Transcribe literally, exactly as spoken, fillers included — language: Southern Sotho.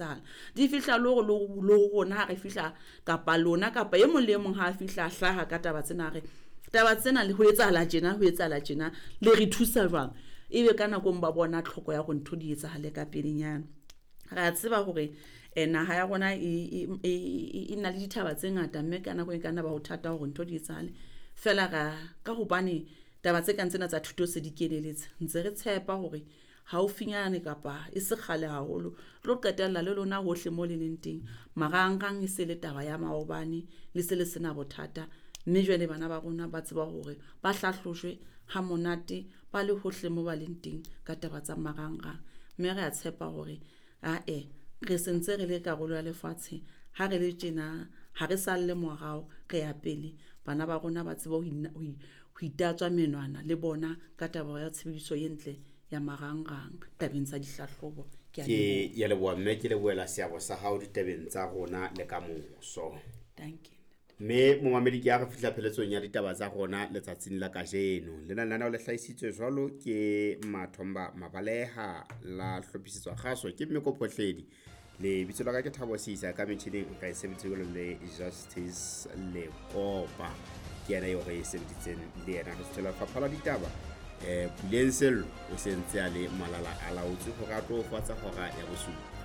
Etsahala di fihla le hore le ho rona ha re fihla, kapa lona kapa e mong le e mong ha a fihla a hlaha ka taba tsena, re taba tsena le ho etsahala tjena, ho etsahala tjena, le re thusa jwang? Ebe ka nakong ba bona tlhoko ya hore ntho di etsahale ka pelenyana. Re a tseba hore eh, naha ya rona e, e, e, e na le dithaba tse ngata, mme ka nako e ka nna ba ho thata hore ntho di etsahale fela. Ra ka hobane taba tse kang tsena tsa thuto se di keneletse, ntse re tshepa hore haufinyane kapa e se kgale haholo tlo qetella le lona hohle mo le leng teng marangrang e se le taba ya maobane, le se le sena bothata. Mme jwale bana ba rona ba tseba hore ba hlahlojwe ha monate ba le hohle mo ba leng teng ka taba tsa marangrang. Mme re a tshepa hore ae re sentse re le karolo ya lefatshe, ha re le tjena ha re salle morao, re ya pele. Bana ba rona ba tsebe ho ho itatswa menwana le bona ka taba ya tshebediso e ntle ya marangrang tabeng tsa dihlahlobo. Ke ya leboha, mme ke lebohela seabo sa hao ditabeng tsa rona le ka moso. Thank you. Mme momamedi, ke a re fihla pheletsong ya ditaba tsa rona letsatsing la kajeno. Lena lenaneo le hlahisitswe jwalo ke Mathomba Mabaleha, la hlophisetswa kgaso ke Mmeko Phohledi. Lebitso la ka ke Thabo Seisa, ka metjhining ka e sebeditse jwalo le Justice Lekopa, ke yena eo re e sebeditseng le yena. Re suthela lefapha la ditaba um Puleng Sello o se ntse a le malala a laotswe hore a tlo fatsa hora ya bosupa.